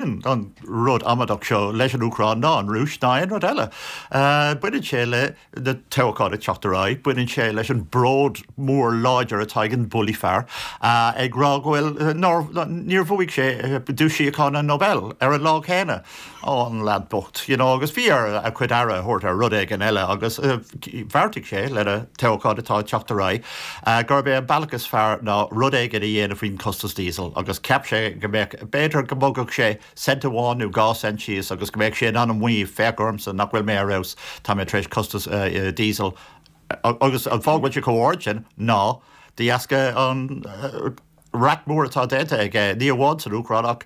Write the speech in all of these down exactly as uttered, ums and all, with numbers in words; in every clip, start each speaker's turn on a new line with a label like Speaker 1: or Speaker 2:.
Speaker 1: baineann an rud amadach seo leis an Úcráin ná an Rúis ná aon rud eile. Baineann sé le na toghcháin ag teacht ar aghaidh, baineann sé leis an bród mór láidir atá ag an bully fear ag rá go bhfuil nár níor bhuaigh sé duais síochána Nobel ar an lá céanna. Ó an lad bocht, you know, agus bhí air a chuid aire a thabhairt ar rud éigin eile agus bheartaigh sé le na toghcháin atá ag teacht ar aghaidh gurb é an bealach is fearr ná rud éigin a dhéanamh faoin costas diesel agus cheap sé go mbeadh b'fhéidir go mbogfadh sé cent amháin nó dhá cent síos agus go mbeadh sé in ann maíomh féach ormsa nach bhfuil mé ar fheabhas tá mé tar éis costas diesel agus an fáth go bhfuil sé chomh hard sin ná de dheasca an raic mór atá déanta aige ní amháin san Úcráin ach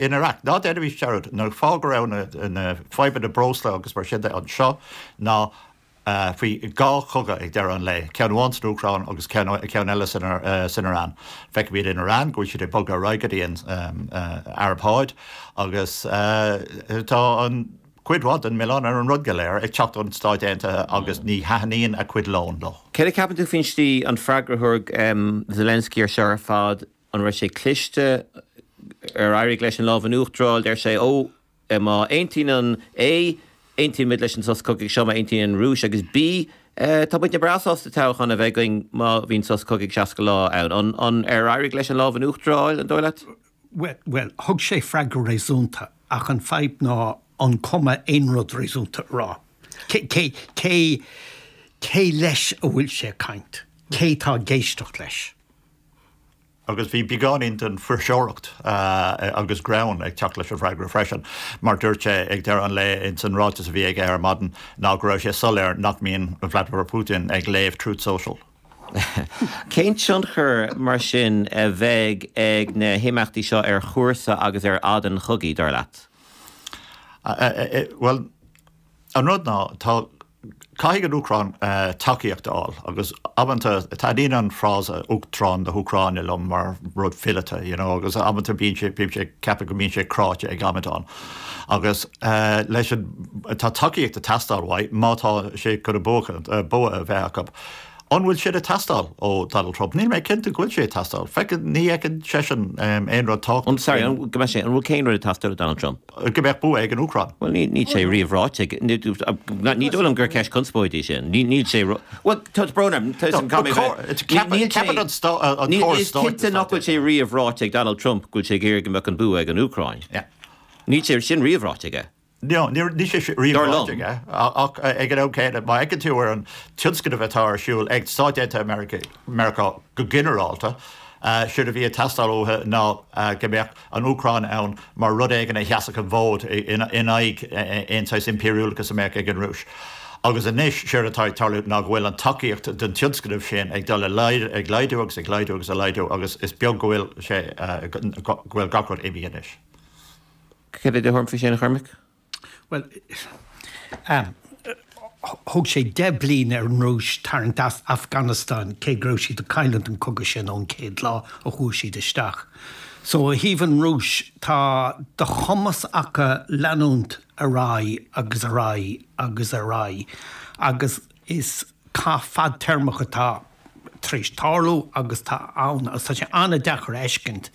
Speaker 1: in Iraq. Ná déanaimis dearmad an fáth go raibh na na fadhbanna breosla agus mar sin de anseo ná faoi dhá chogadh ag deireadh an lae, ceann amháin san Úcráin agus ceann ceann eile san san Iran. Feicimid in Iran go bhfuil siad ag bogadh ar aghaidh go dtí an Araib Sháid agus tá an cuid mhaith den milleán ar an rud go léir ag teacht ón Stáit Aontaithe agus ní thaitníonn a cuid lón leo.
Speaker 2: Céard a cheapann tú faoin slí an freagra a thug Zelensky ar seo ar fad an raibh sé cliste ar éirigh leis an lámh in uachtar a fháil deir sé ó má aontaíonn an A aontaímid leis an sos cogaidh seo má aontaíonn an Rúis agus B tá muidne breá sásta toghchán a bheith againn má bhíonn sos cogaidh seasca lá ann. An an ar éirigh leis an lámh in uachtar a fháil an dóigh leat?
Speaker 3: Well, thug sé freagra réasúnta ach an fadhb ná an cuma aon rud réasúnta a rá. Cé cé cé cé leis a bhfuil sé ag caint? Cé tá ag éisteacht leis?
Speaker 1: Agus bhí beagáinín den fuirseoireacht agus greann ag teacht leis an bhfreagra freisin, mar dúirt sé ag deireadh an lae ins an ráiteas a bhí aige ar maidin ná go raibh sé soiléir nach mbíonn Vladimir Putin ag léamh Truth Social.
Speaker 2: Cén tionchar mar sin a bheidh ag na himeachtaí seo ar chúrsa agus ar fhad an chogaidh, dar leat?
Speaker 1: Bhuel, an rud ná tá caithfidh an Úcráin tacaíocht a fháil agus amanta taitníonn an frása Uachtarán na hÚcráine liom mar rud fileata, you know, agus amanta bíonn sé bíonn sé ceaptha go mbíonn sé cráite ag amadán. Agus leis an tá tacaíocht ag teastáil uaidh má tá sé chun a bua a bheith acu. An bhfuil sé ag teastáil ó Donald Trump? Níl mé cinnte go bhfuil sé ag teastáil. Feiceann ní fheiceann seisean aon rud tábhachtach.
Speaker 2: An sorry, an go mbeidh sé an bhfuil cén rud ag teastáil ó Donald Trump?
Speaker 1: Go mbeadh bua ag an Úcráin.
Speaker 2: Bhuel ní níl sé riamh ráite ag ní dóigh liom gur ceist conspóide í sin. Ní níl sé Bhuel tá brón orm tá an níl sé
Speaker 1: Ceapann an an córas
Speaker 2: Is cinnte nach bhfuil sé riamh ráite ag Donald Trump go bhfuil sé ag iarraidh go mbeadh an bua ag an Úcráin. Níl sé sin riamh ráite aige.
Speaker 1: No, ní ní sé riamh ráite aige ach ag an am céanna má fheiceann tú ar an tionscnamh atá ar siúl ag Stáit Aontaithe Meiriceá go ginearálta, séard a bhí ag teastáil uathu ná go mbeadh an Úcráin ann mar rud éigin a sheasfadh an fód in aghaidh aon saghas impiriúlachas a mbeadh ag an Rúis. Agus anois séard atá ag tarlú ná go bhfuil an tacaíocht den tionscnamh sin ag dul ag laghdú agus ag laghdú agus ag laghdú agus is beag go bhfuil sé go bhfuil gach rud imithe anois.
Speaker 2: Céard é do thuairim faoi sin a Chormaic?
Speaker 3: Well, um, thóg sé deich bliain ar an Rúis tarraingt as Afghanistan cé go raibh siad ag cailliúint an cogadh sin ón chéad lá a chuaigh siad isteach. So ó thaobh an Rúis tá de chumas acu leanúint ar aghaidh agus ar aghaidh agus ar aghaidh agus is cath fadtéarmach atá tar éis tarlú agus tá ann agus tá sé an-deacair a fheiscint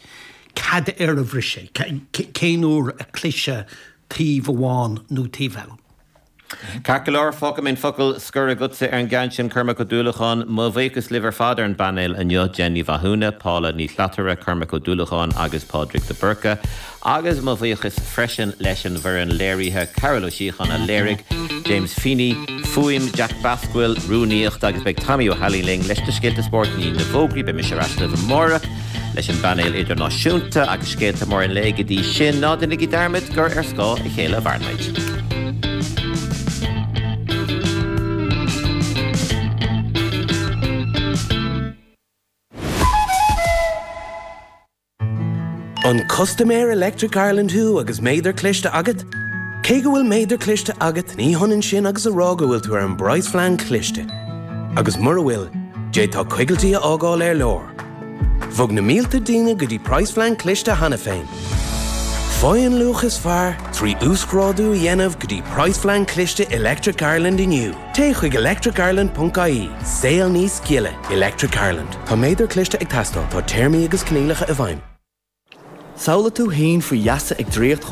Speaker 3: cad air a bhris sé, cén uair a cliseadh taobh amháin nó taobh eile.
Speaker 2: Ceart go leor, fágfaidh mé an focal scoir agatsa ar an gceann sin, Cormac Ó Dúlacháin. Mo bhuíochas libh ar fad ar an bpainéal inniu, Jen Ní Mhathúna, Paula Ní Shlatara, Cormac Ó Dúlacháin agus Pádraig de Búrca. Agus mo bhuíochas freisin leis an bhfoireann léirithe, Carol Ó Síocháin a léirigh, James Feeney, fuaim, Jack Basquill, rúnaíocht agus beidh Tommy Ó hAilín linn leis na scéalta spóirt i ndiaidh na bhfógraí. Beidh mise ar ais libh amárach leis an bpainéal idirnáisiúnta agus scéalta móra an lae go dtí sin. Ná déanaigí dearmad gur ar scáth a chéile a mhaireann muid.
Speaker 4: An custaiméir Electric Ireland thú agus méadar cliste agat? Cé go bhfuil méadar cliste agat, ní hionann sin agus a rá go bhfuil tú ar an bpraghasphlean cliste. Agus mura bhfuil, d'fhéadfá coigiltí a fhágáil ar lár. Bhog na mílte daoine go dtí praghasphlean cliste cheana féin. Faigh an luach is fearr trí uasghrádú a dhéanamh go dtí praghasphlean cliste Electric Ireland inniu. Téigh chuig electricireland.ie. Saol níos gile, Electric Ireland. Tá méadar cliste ag teastáil, tá téarmaí agus coinníollacha i bhfeidhm.
Speaker 5: Samhlaigh tú féin faoi gheasa ag draíocht